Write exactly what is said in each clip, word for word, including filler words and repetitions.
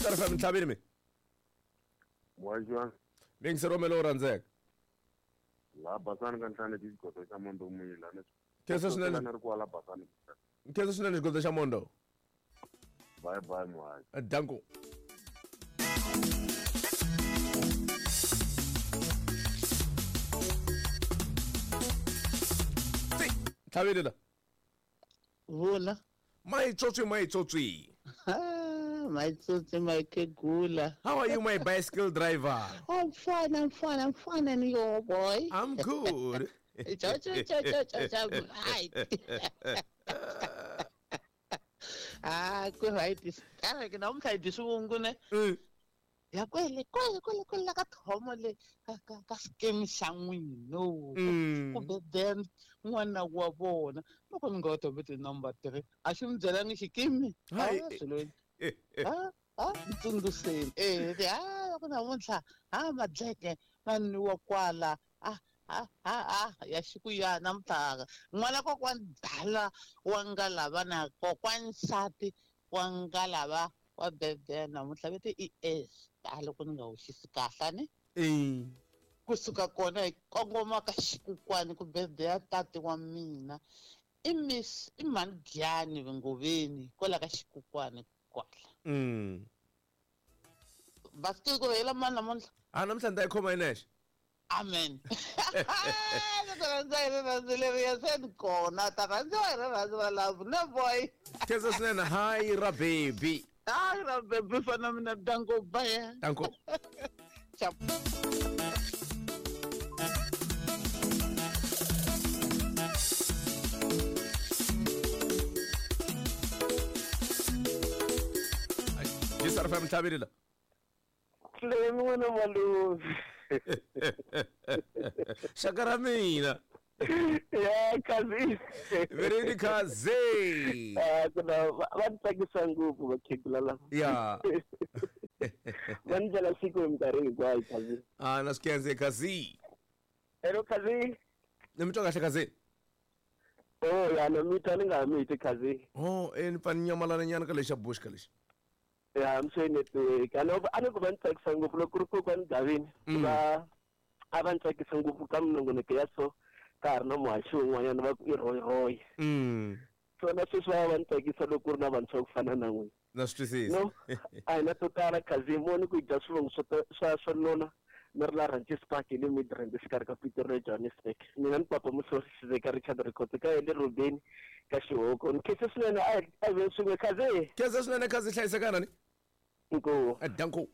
G S R F M ntlhavini mi. Mwajwa. Mingi Romelo rhandzeka. La basani ka ntlhanu ti xigodo xa mondo muyila ni. Khensa swinene. Ni ri kwala basani. Khensa swinene xigodo xa mondo. Bye bye mwajwa. Danko. Ntlhavini la. Vula. My tsotsi, my tsotsi. My tsotsi, my kegula. How are you, my bicycle driver? I'm fine, I'm fine, I'm fine, and you, boy? I'm good. Cho, cho, cho, cho, cho, cho, right. Ah, ku right. Kana ke namuntlha hi dyi swivungu ne? Ya kwele, kwele, kwele, kwele ka thomo le ka ka scheme xa n'wina. Ku beden n'wana wa vona. Loko mi nga thomo number three. A xi mi byelangi xikimi? Hayi. Ah, ah, ntsundzuxeni. Eh, ah, loko namuntlha, ah, madleke ma nwiwa kwala. Ah, ah, ah, ah, ya xikuya namuntlha. N'wana kokwani dala wa nga lava na kokwani nsati wa nga lava wa bebe namuntlha vete i S. A loko ni nga hoxisi kahle ne? Eh. Kusuka kona hi kongoma ka xikukwani ku bebe ya tati wa mina. I miss i mhani Giyani Ngoveni kwala ka xikukwani kwala. Mm. Basike ku hela mani namuntlha? Ah, namuntlha ni ta yi khoma hi nexe. Amen. Loko rhandza hi rirhandzu leriya se ni kona ta rhandziwa hi rirhandzu ra love no boy. Khensa swinene hi ra baby. Hi ra baby fana mina danko bye. Danko. Ciao. G S R F M ntlhavini la. Clem n'wana malume. Xaka ra mina. Ya kazi. Very kazi. Ah, kuna va tsakisa ngopfu vakhegula lava. Ya. Va ndlela siku minkarhi hinkwayo kazi. Ah, na swi khense kazi. Hello kazi. Ni mi twa kahle kazi? Oh, ya na mi twa ni nga mi twi kazi. Oh, eh ni pfa ni nyamalana nyana ka lexa bush ka lexi. Ya, I'm saying network. A no a ni ku va ni tsakisa ngopfu loko ku ri kokwani Gavini. Va a va ni tsakisa ngopfu ka minongonoko ya so ka ha ri na muhaxi wun'wanyana va ku i Roy Roy. Swona sweswi va va ni tsakisa loko ku ri na vantshwa ku fana na n'wina. Na swi twisisa. No, a hi na to tala kazi moni ku dya swivongo swo swa swa nona ni ri la Ranches Park hi le Midrand exikarhi ka Pretoria Johannesburg. Mina ni papa Muhlori Xiveka Richard Rikhotso ka le Rubeni ka Xihoko. Ni khensa swinene a a ve swin'we kazi. Khensa swinene kazi hlayisekana ni. Inkomu. Danko.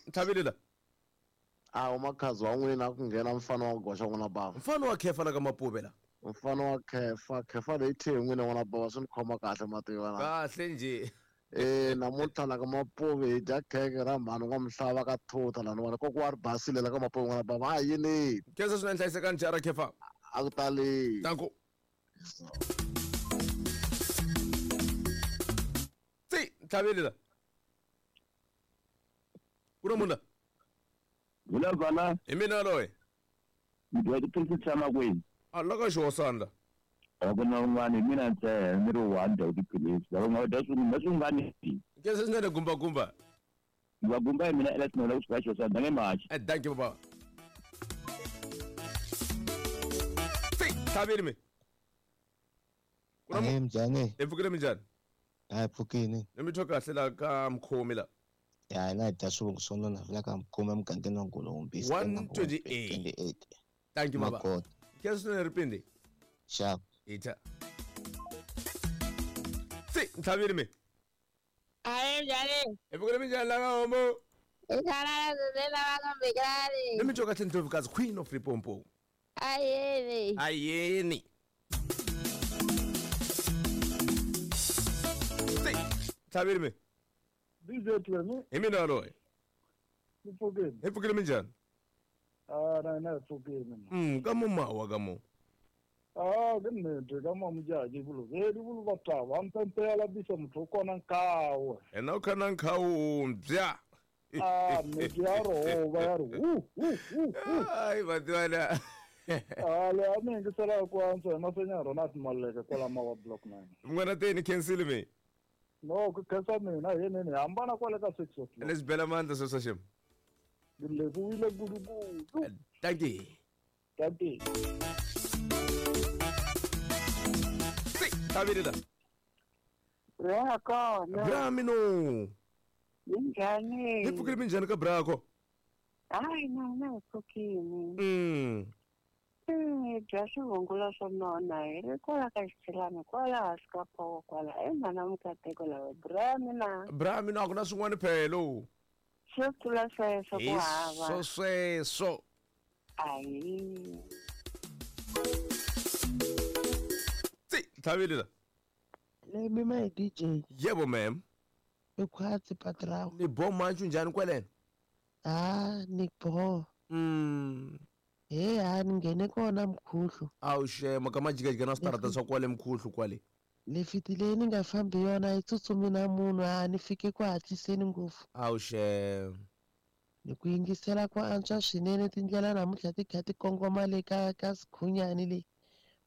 Ntlhavini la. A umakhazi wa n'wina ku nghena mfana wa goxa n'wana bava. Mfana wa khefa la ka Mapuve la. Mfana wa khefa, khefa leyi thye n'wina n'wana bava swi ni khoma kahle mativa na. Kahle njhe. Eh namuntlha la ka Mapuve hi dya kheke ra mhani wa mhlava ka thutha laniwani koko wa ri basile la ka Mapuve n'wana bava a yini. Khensa swinene hlayisekani jara khefa. A ku tali. Danko. Tsi, ntlhavini la. Ku na munhu la? Vula vana. Hi mina loyi. Mi dya tiphilisi tshama kwini? A la ka xihosana la. A ku na un'wana hi mina ntsena ni ri one dya tiphilisi. Lava nga dya swin'wana swin'wana. Khensa swinene gumba gumba. Gumba gumba hi mina ela tin'wana kusuka xihosana nge machi. Eh thank you baba. Tsi, ntlhavini mi. Ku na Ahee njhani? Hi pfukile minjhani? Hi pfukile. Ni mi twa kahle la ka mkhomi la. Ya hina hi dya swivongo swo nona la ka mkhomi emugangeni wa Ngulombi. one twenty-eight. Thank you baba. Khensa swinene ripindi. Sharp. Ita. Tsi, ntlhavini mi. Ahee njhani? Hi pfukile minjhani la ka homo? Ikhalala zezela vakambekani. Ni mi twa kahle Ndlovukazi Queen of Limpopo. Ayeni. Ayeni. Tsi, ntlhavini mi. D J Clem. Hi mina loyi. Ni pfukile. Hi pfukile minjhani? Ah, na na pfukile. Mm, ka mumawa ka mo. Ah, ke nnete ka mamojaji bolobedi bolo bataba mpempe ya lapisa motho o kona nkawe. Ena o khana nkhawu mbya. Ah, nnete ya roba ya re hu hu hu. Ai batwana. Ah, le a ni yingisela ku antswa hi Masenya Ronald Maluleke kwala Mawa Block nine. N'wana teni khensile me. No, ku khensa mina hi yini hambana kwale ka six o'clock. Ni swi bela mandla sweswo xim. Ni levuwile gudugudu. Thank you. Thank you. Tabiri la. Bra kona. Bra mino. Minjhani? Hi pfukile minjhani ka brako? Hayi na na hi pfukile. Mm. Hi dya swivungula swo nona hi ri kwala ka xitshilani kwala hansi ka phowo kwala i mhana Mukateko lava bra mina. Bra mina a ku na swin'wana phelo. Swo tlula sweswo ku hava. Swo sweswo. Ayi. Tsi, Thabile la. Let me my D J. Yebo ma'am. Ikhwatsi patrao. Ni bo manchu njhani kwaleno? Ah, ni bo. Mm. Hey, a ni nghene kona mkhuhlu. Awu shema ka majikajika na switarata swa kwale mkhuhlu kwale. Ni fitile ni nga fambi yona yi tsutsumi na munhu a ni fike ku hatliseni ngopfu. Awu shema. Ni ku yingisela ku antswa swinene tindlela namuntlha ti kha ti kongoma le ka ka Sikhunyani le.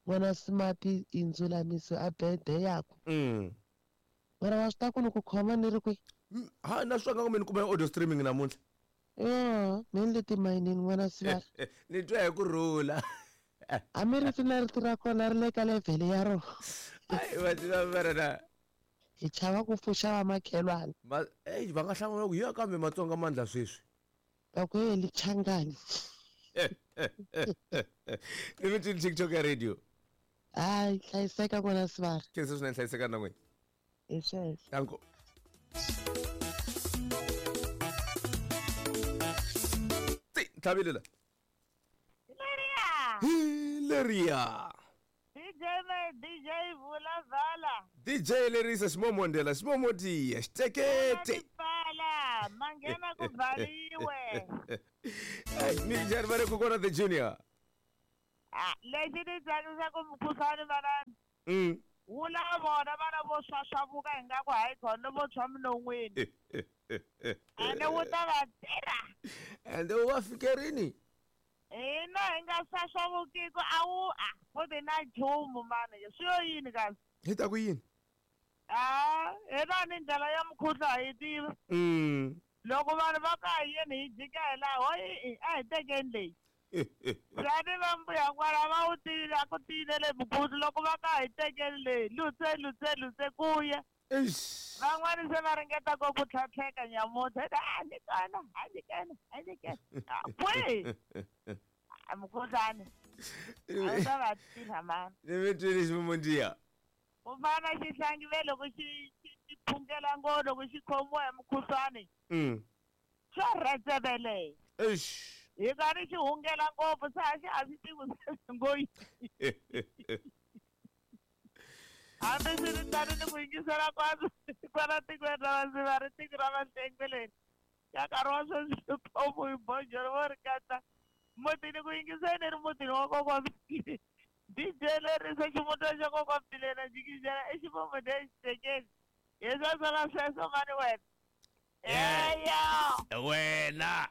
N'wana Smart i ndzulamiso a birthday yakwe. Mm. Mara wa swi ta ku ni ku khoma ni ri kwihi? Ha na swi nga ku mi ni kuma audio streaming namuntlha. Yo, mi ni le timayinini n'wana Sivara. Ni twa hi ku rhula. A mi ri na rito ra kona ri le ka level ya rona. Ai va tiva mara na. Hi chava ku pfuxa vamakhelwani. Ma ey va nga hlamula ku ya kambe Matsonga mandla sweswi. Va ku heli Changani. Ni mi twini TikTok ya radio. Hayi hlayiseka n'wana Sivara. Khensa swinene hlayiseka na n'wina. Hi sweswo. Danko. Thabile la. Leria. Leria. D J me D J vula vala. D J Lerisa ximomondela ximomotiya xitekete. Pala manghena ku bvaliwe. Ai mi njhani va ri kokwana the junior. Ah, lexi ni tsakisaka mukhuhlwani manana. Mm. Wu la vona vana vo swaswavuka ingaku hayi khona vo tshwa minon'wini. Ene wu ta va tirha. Ende wu va fike rini? Hina hi nga swaswavukiki a wu a futhi na nchumu mani swi yo yini kasi? Hi ta ku yini? Ah, hina ni ndlela ya mukhuhlwa ha yi tiva. Mm. Loko vanhu va ka hi yini hi jika hi laha hoyi a hi tekeni leyi. Lani va mbuya kwala va wu tiyile a ku tiyilele mukhuhlu loko va ka hi tekeni leyi lutse lutse lutse ku ya. Van'wani se va ringeta ku ku tlhatlheka nyamuntlha a ni kona a ni kona a ni kona kwihi mukhuhlwani a wu ta va tirha mani. Ni mi twini ximumundiya. Ku fana na xihlangi ve loko xi xi phungela ngo loko xi khomiwa hi mukhuhlwani. Mm. Xo rhetsevele. Eish. Hi karhi xi hungela ngopfu se a xi a swi tivi ngo yini. Hambi swi ri tano ni ku yingisela kwala kwala tikweni ra Vasiva ri tiko ra Vahlengwe ka nkarhi wa sweswi khomu hi bonjolo vo ri katsa mutini ku yingiseni ri mutini wa kokwa-Mbileni. D J Lerisa ximutana xa kokwa-Mbileni a jikijela i ximumu lexitekeni hi sweswo sweswo mani wena. Eya. Wena.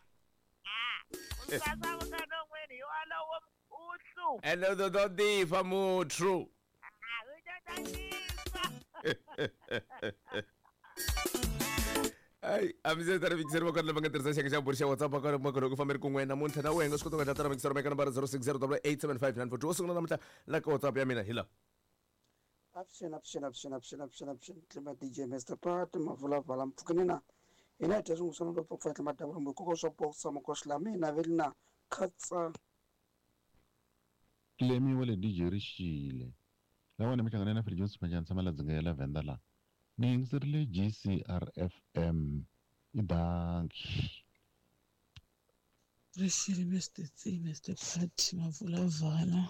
U sasavuka non'wini hi walowo mkhuhlu. Ene u to difa muthu. Ah, u ta tsakisa. Ai, a mi se ta mixer va kona va nga tirhisa xiyenge xa bulo xa WhatsApp ka ma kona ku famberi kun'we namuntlha na wena swi kota ku endla tara mixer ka nambara zero six zero double eight seven five nine four two wo sungula namuntlha la ka WhatsApp ya mina hi la. Avuxeni avuxeni avuxeni avuxeni avuxeni avuxeni tlima D J Mister Pat mavulavala mpfukeni na hina hi dya swin'wana swa loko ku fana tlima dabula koko swa boxa makoxla mina ve na khatsa. Tlemi wa le D J Rixile lawa ni mihlangano na Fred Jones Manjani tshama la dzinga ya la Venda la ni yingiserile G C R F M i danki. Rixile Mister C Mister Pat mavulavala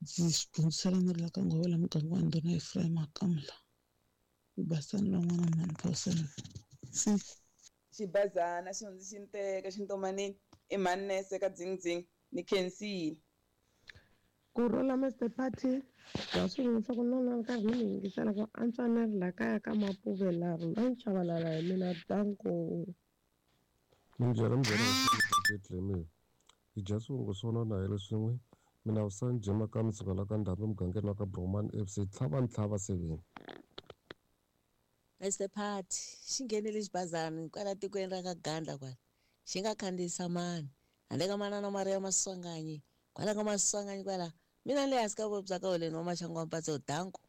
ndzi swi dyondzisela ni ri la ka Ngovela muganga wa ndhuna Ephraim Makamla basani van'wana mani person si xibazana xi hundzi xi ni teka xintomanini i mhani nese ka dzingdzing ni khensile. Ku rhula Mister Party bya swin'we swa ku nona nkarhi ni mi yingisela ku antswa ni ri la kaya ka Mapuve la rhula nchavalala hi mina danko. Minjhani minjhani tlemi Hi dya swivungu swo nona hi ri swin'we. Mina Vusani Jema ka misuka la ka Ndhambi mugangeni wa ka Bromani F C tlhava ntlhava seven. Mister Party xi nghenele xibazana kwala tikweni ra ka Gandla kwala xi nga khandziyisa mani handle ka manana Maria Maswanganyi kwala ka Maswanganyi kwala mina le hansi ka vuvabyi bya ka holeni wa maxangu wa mpatso danko.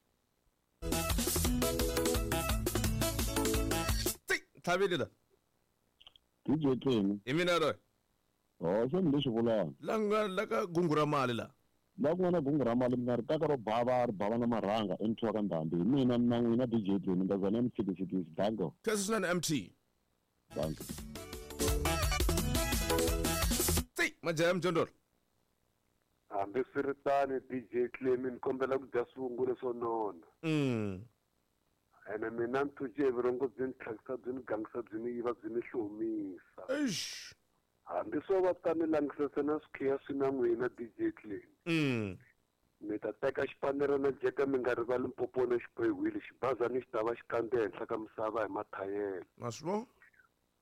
Tlhavile la. D J Clem. I mina loyi. Oh, xo ni lexi vulaka. La nga la ka gungu ra mali la. La ku nga na gungu ra mali mina ri taka ro bava ri bava na marhanga emthiwa ka Ndhambi. Hi mina na n'wina D J Clem ndazana M T C danko. Khensa swinene M T. Danko. Tsi, majaha mjondolo. Hambi swi ri tani D J Clem ni kombela ku dya swivungu leswo nona. Mm. Ene mina nthuxe vurhongo byi ni tlhakisa byi ni gangisa byi ni yiva byi ni hlomisa. Eish. Hambi swo va ta ni langisese na swikhiya swi na n'wina D J Clem. Mm. Mi ta teka xipanere na jeka mi nga rivali mpopo na xibohiwile xibazana xi ta va xi kandze henhla ka misava hi mathayela. Ma swi vona?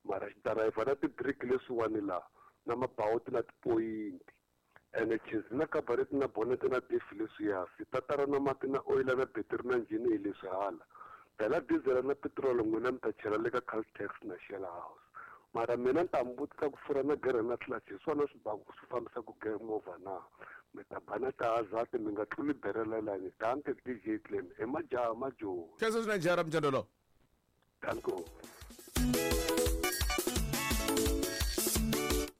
Mara xi darayivha na tibiriki leswiwani laha na mabawuti na tipoyinti. Ene chizi na kabareti na bonete na difi leswiya switatara na mati na oyila na betiri na njhini hi leswi hala. Phela diesel na petrol n'wina mi ta chela le ka Caltex na Shell House. Mara mina ni ta mi vutisa ku furha na gerhe na clutch hi swona swi baku swi fambisaka movha na. Mi ta ba na tihazard mi nga tluli berelelani. Danke D J Clem i majaha majoni. Khensa swinene jaha ra mjondolo. Danko.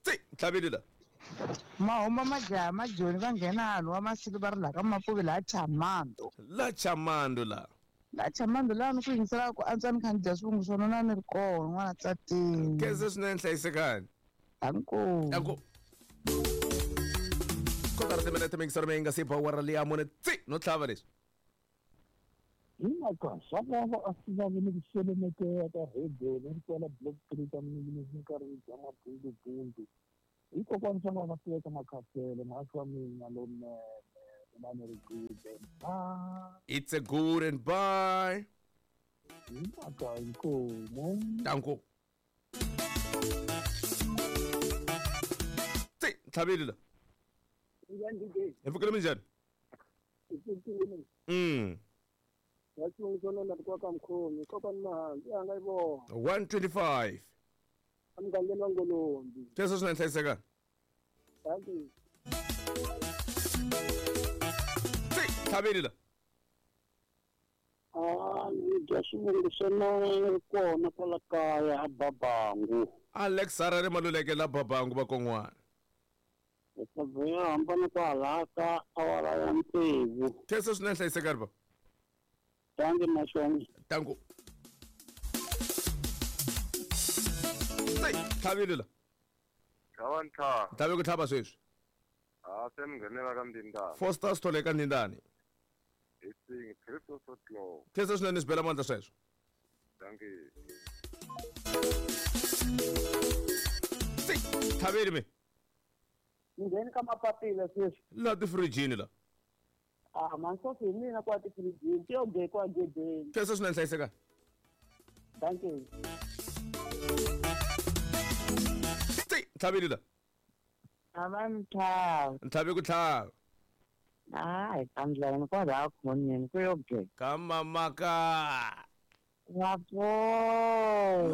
Tsi, tlhavile la. Mahuma majaha majoni va nghena hanu wa masiku va ri la ka Mapuve la Chamando. La Chamando la. La Chamando la ni ku yingisela ku antswa ni kha ni dya swivungu swo nona ni ri kona n'wana tsatini. Khensa swinene hlayisekani. Danko. Danko. Kotara timinete mingisero mi nga se ba wara liya mune tsi no tlhava leswi. Hi mhaka swa vava a swi vavi ni ku selemekeka ka radio ni ri kwala block three ka minini ni karhi ni dya mabundubundu. Hikokwani swa vava swi eka makhasele mhasi wa mina lowunene mina ni ri good and bye. It's a good and bye. Hi mhaka inkomu. Danko. Tsi, tlhavile la. Njhani D J? Hi pfukile minjhani? Hi pfukile. Mm. Ya xivungu xo nona kwa ka mkhomi kokwani Mahanzi a nga yi vona. one twenty-five. Emugangeni wa Ngolombi. Khensa swinene hlayisekani. Thank you. Tsi, tlhavile la. Ah, ni dya swivungu swo nona ni ri kona kwala kaya a Babangu. Alex Harare Maluleke la Babangu va kon'wana. Leswaku hambana kwalaha ka awara ya tsevu. Khensa swinene hlayisekani ba. Danke Mashonga. Danko. Tsi, tlhavile la. Tlhava ntlhava. Tlhave ku tlhava sweswi. Ah, se mi nghenela ka Ndindani. Foster Sithole ka Ndindani. Hi sing Christopher Sotlo. Khensa swinene swi bela mandla sweswo. Danke. Tsi, tlhavile mi. Ngheni ka mapapila sweswi. La tifirijini la. Ah, mansofi hi mina kwa tifirijini ti yo ge kwa gedeni. Khensa swinene hlayisekani. Danke. Tsi, tlhavile la. A va ntlhava. Ntlhave ku tlhava. Hayi, tandleni kwalaha khoneni ku yo ge. Ka mamaka. Wapo.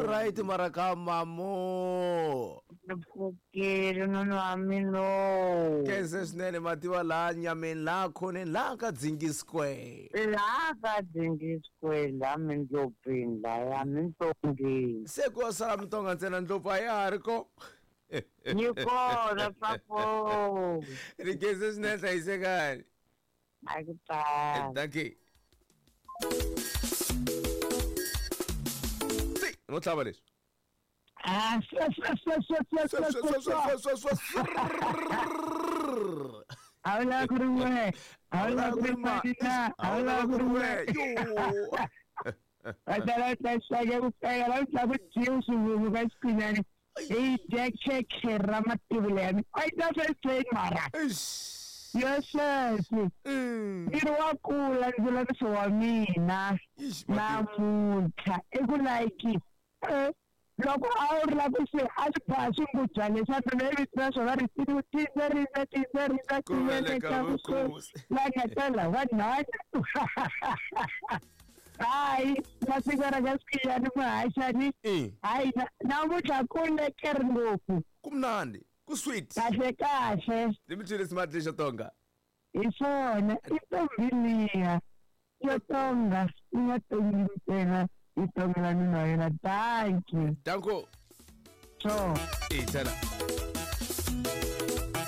Right mara ka mamo. Ni pfukile noni wa mina. Khensa swinene mativa laha nyameni laha khoneni laha ka Dzingi Square. Laha ka Dzingi Square laha mindlopfini laya mintongeni. Se ku yo sala mintonga ntsena ndlopfu a ya ha ri ko. Yi kona papo. Ri khensa swinene hlayisekani. A ku tani. Dankie. Tsi, no tlhava leswi. Ah, swa swa swa swa swa swa swa swa swa swa. A wu lava ku ri n'we, a wu lava ku ri manina, a wu lava ku ri n'we. Va ta la ta xaka ku feka la ta ku dyiwa swivungu ka xikhwinyani. Hi dya khekhe ra mativula ya mina. A yi ta swi mara. Ya sweswi. Miri wa kula ndzulamiso wa mina. Namuntlha i ku like eh Loko a wu ri la ku swi a swi ba swingujana leswa mina i vito ra swona ri tindze rindza tindze rindza Ku veleka vukosi. la nga tala va nhwana. Hayi masiku ra ka swiyani muhaxani. Hayi namuntlha ku lekeri ngopfu. Ku mnandi, ku sweet. Kahle kahle. Ni mi twile smart lexo tonga. Hi swona i ntombi liya yo tonga yi nga tongi ntsena yi tongela nuna wa yena. Dankie. Danko. Sure. Ithela.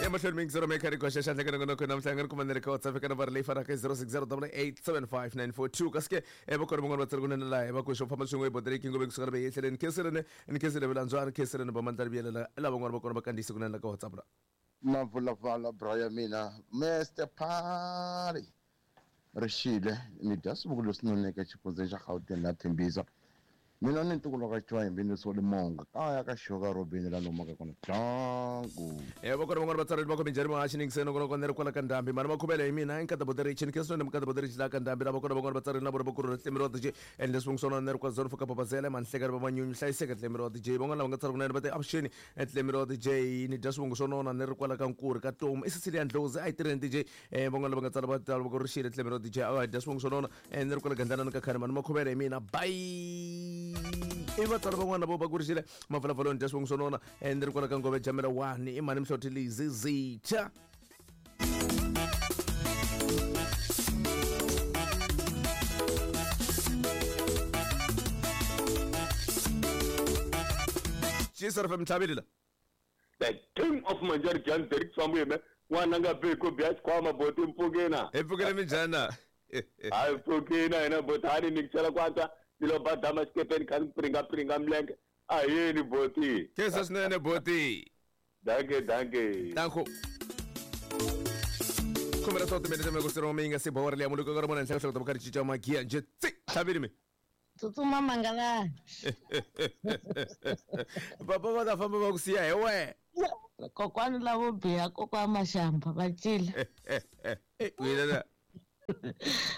Emahlweni mingisero mi kha ri koxa xandla ka nongonoko namuntlha nga ri kuma ni ri ka WhatsApp eka nambara leyi fanaka zero six zero double eight seven five nine four two kasi ke vakona van'wana va tsari kunene laha va ku xo famba swin'we ebodereki ngove kusuka na ehleleni kheseleni ni khesele vulandzwani kheseleni va mandla riviyelela lava van'wana va kona va kandziyise kunene la ka WhatsApp la. Mavulavala bra ya mina Mister Party rixile ni dya swivuku leswi noneke xifundzeni xa Gauteng na Tembisa. Mina ni ntukulu ka Chwayimbi ni sole monga kaya ka Xoka Robin la nomaka kona dangu. Eh vakona van'wana va tsareli va ku minjhani muhaxi ni ngiseni nongonoko ni ri kwala ka ndhambi mani makhuvele hi mina nkata boderich ni khensini ni mukata boderich la ka ndhambi lava kona van'wana va tsareli na vona va kurhula tlemi ra D J and leswi n'wi swona ni ri kwa zone for ka papazele mani hlekani va manyunyu hlayiseka tlemi ra D J van'wana lava nga tsara kunene va te avuxeni tlemi ra D J ni dya swivongo swo nona ni ri kwala ka Nkuri ka Tomu i Cecilia Ndlozi a yi tirheni D J eh van'wana lava nga tsara va tsara va ku rixile tlemi ra D J a hi dya swivongo swo nona ni ri kwala Gandlana ka Khani mani makhuvele hi mina bye. I vatswari van'wana vo va kurixile mavulavuloni dya swivongo swo nona ni ri kwala ka Ngove Jamela one i mani Mhloti Lizi Zitha. G C R F M tlhavile la. The king of Manjari Jan Derek Samuel n'wana nga beko bya xikhwama boti mpfukina. Hi pfukile minjhani? Hayi pfukina hina boti hani ni ku chela kwanza ni lo badama xikepeni kha ni pringa pringa milenge a yini boti. Khensa swinene boti. Danke danke. Danko. Khume ra swa timinete mi ku siroma mi nga si bawari leya muluko ka ri mona henhla ka hloko ta cinca magiya njhe tsi tlhavile mi. Tsutsuma mangalani. Papa va ta famba va ku siya hi wehe. Kokwani lavo biha kokwa Mashamba va cila. Wena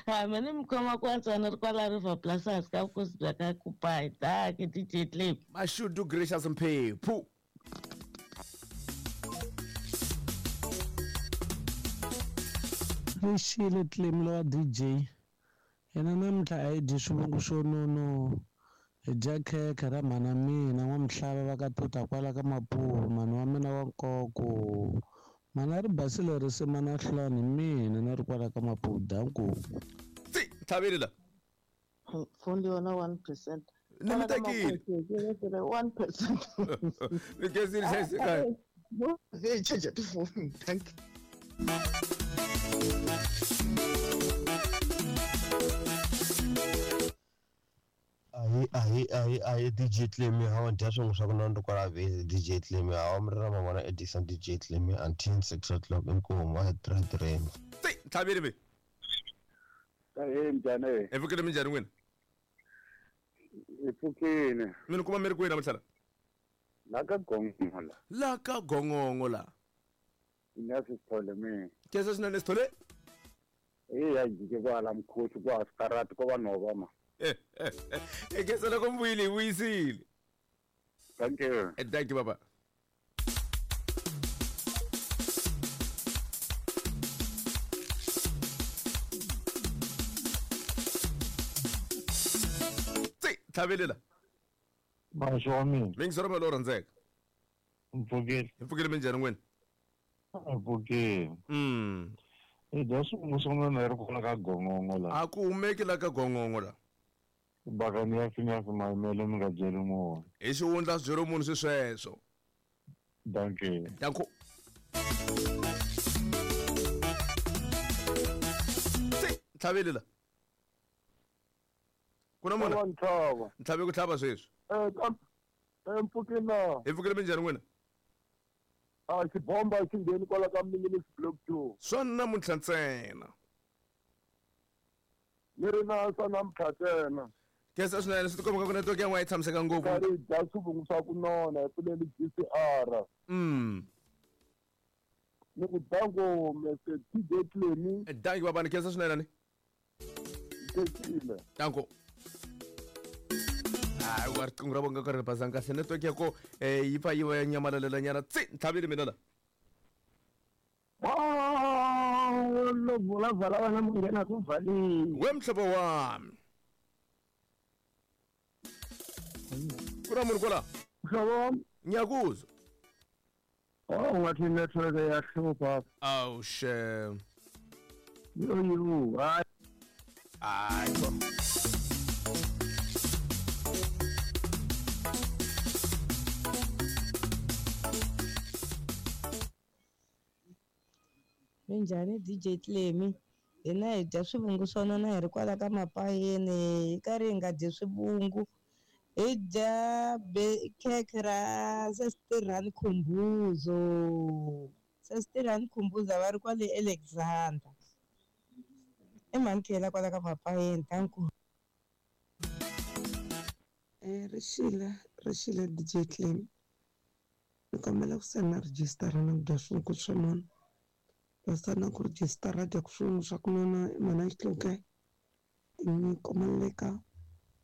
Ha mina mi khoma kwantswa ni ri kwala River Plaza ka vukosi bya ka Kupai dankie D J Clip. Mashudu Gracious Mphephu. Rixile Clem lowa D J yena namuntlha a hi dyi swivongo swo nono hi dya khekhe ra mhana mina n'wamihlava va ka tuta kwala ka Mapuve mhani wa mina wa nkoko mhani a ri basile risima na hlulani mina na ri kwala ka Mapuve danku. Tsi tlhavile la. Fundi yona one percent. Ni mi tekile. One percent. Ni khensile hlayisekani. Hey, charge tifoni. Thank you. Ahi ahi ahi ahi D J Clemi hawa dya swin'we swa ku nona ri kwala vhesi D J Clemi hawa mi ri na mavona Edison D J Clemi until six o'clock inkomu a hi tirha tirheni. Tsi tlhavile mi. Ahee minjhani? Hi pfukile minjhani n'wina? Hi pfukile. Mi ni kuma mi ri kwihi namuntlha la? La ka Gongongo la. La ka Gongongo la. Ina Sithole mina. Khensa swinene Sithole. Eya jike kwala mkhosi kwa sikarati ko vanhu va ma. E khensa loko mi vuyile hi vuyisile. Thank you. Thank you baba. Tsi tlhavile la. Maxo wa mina. Mingisero ma lowu rhandzeka. Mpfukile. Hi pfukile minjhani n'wina? Mpfukile. Mm. Hi dya swivongo swo nona hi ri kwala ka Gongongo la. A ku humeki la ka Gongongo la. Bakani ya finyafi mayimele mi nga byeli munhu. Hi xihundla swi byeriwi munhu swi sweswo. Dankie. Danko. Tsi tlhavile la. Ku na munhu? Ntlhave ku tlhava sweswi. Eh eh mpfukile. Hi pfukile minjhani n'wina? A xibomba xi ngheni kwala ka Minginisi Block two. Swa namuntlha ntsena. Ni ri na swa namuntlha ntsena. Khensa swinene swi tikomba ku network ya n'we a yi tshamiseka ngopfu. Karhi hi dya swivungu swa ku nona hi pfuleli G C R. Mm. Ni ku danko Mister T J Clemi. Danki baba ni khensa swinene ni. Khensile. Danko. Hayi wa riqingho ra vonga ka ri basanga kahle network ya ko eh yi pfa yi va ya nyamalalela nyana tsi tlhavile mina la. Lo vula vala wena munghena ku valile. We mhlobo wami. Kuna munhu kwala? Mhlobo wami. Ngiyakuzwa. Oh, ngathi network iyahlupha. Awu shem. Yo yo, hayi. Hayi bo. Minjhani D J Clemy? Hina hi dya swivungu swo nona hi ri kwala ka mapayeni hi karhi hi nga dyi swivungu hi dya khekhe ra Sestirani Khumbuzo. Sestirani Khumbuzo va ri kwale Alexander. I mhani Khela kwala ka mapayeni danko. Eh rixile rixile D J Clemy. Ni kombela ku sena rejistara na ku dya swivungu swo nona. Basana ku rejistara dya ku swivungu swa ku nona i mhana Xihluke. Ni komeleka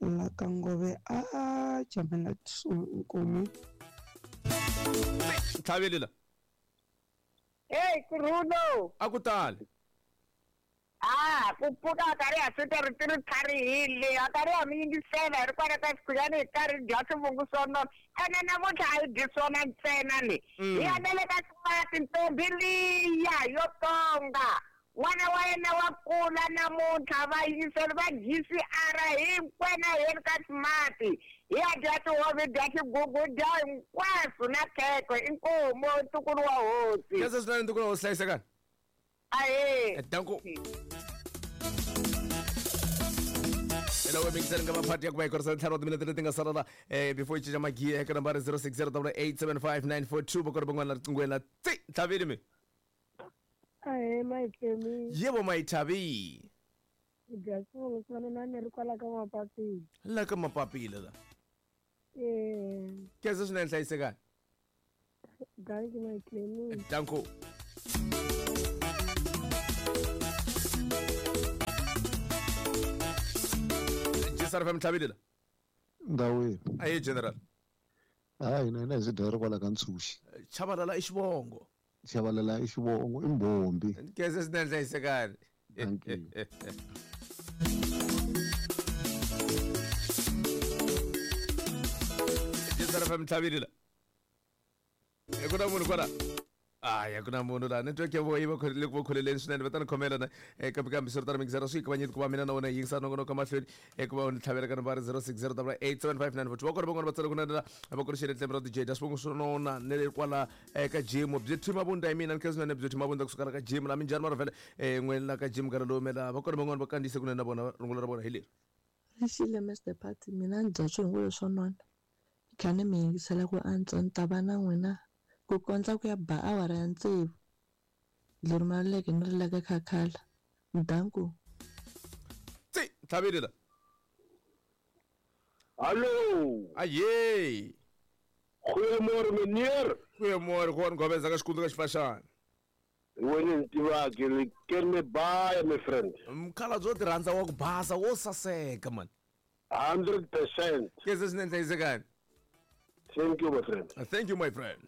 la ka ngove a jamela nkomu. Tlhavile la. Hey Kuruno. A ku tali. Ah, ku pfuka karhi ha swi ri ti ri tlharihile a karhi ha mi yingisela hi ri kwala ka xikhuyani hi karhi dya swivungu swo nona ene namuntlha a hi dyi swona ntsena ni hi ya na le ka ximati ntombi liya yo tonga n'wana wa yena wa kula namuntlha va yingiseli va G C R hinkwena hi yeni ka ximati hi ya dya tihove dya xigugu dya hinkwaswo na khekhe inkomu ntukulu wa hosi. Khensa swinene ntukulu wa hosi hlayisekani. Ahe. Danko. Hello, we're mixing up a party ya ku va ntlhanu wa timinete leti nga sala la eh before yi cinca magiya eka nambara zero six zero eight seven five nine four two va kona van'wana la riqinghweni la tsi tlhavile mi. Ahe Mayitlemi. Yebo Mayithabi. Dya swivungu swo nona ni ri kwala ka mapapila. La ka mapapila la. Eh. Khensa swinene hlayisekani. Danki Mayitlemi. Danko. S R F M tlhavile la. Ndawini. Aye general. Hayi na hina hi swi dya ri kwala ka Ntshuxi. Chabalala i xivongo. Chabalala i xivongo i mbombi. Khensa swinene hlayisekani. Thank you. S R F M tlhavile la. Ku na munhu kwala. Hayi a ku na munhu laha network ya vo yi va le ku va kholeleni swinene va ta ni khomela na kambe kambe swi ri tano mixera swi kavanyeti ku va mina na wena hi yingisa nongonoko mahlweni ku va u ni tlhavela ka nambara zero six zero eight seven five nine four two va kona van'wana va tsala ku na va ku ri xele tlembe ra D J dya swivongo swo nona ne le kwala eka gym byi thima vunda hi mina ni khensa swinene byi thima vunda kusuka la ka gym la minjhani mara vhele n'we la ka gym nkarhi lowu mela va kona van'wana va kandziyise kunene na vona rungula ra vona hi leri. Rixile Mister Party mina ni dya swivungu leswo nona ni kha ni mi yingisela ku antswa ni ta va na n'wina ku kondza ku ya ba awara ya tsevu leri maluleke ni ri laka khakhala danku. Tsi tlhavile la. Hallo. Aye. Goeiemôre meneer. Goeiemôre, gewoon Gobeza ka xikundzu ka xifaxana. Wena ni tivaki le kene baie my friend. Mkhala byo ti rhandza wa ku basa wo saseka man. hundred percent. Khensa swinene hlayisekani. Thank you my friend. Thank you my friend.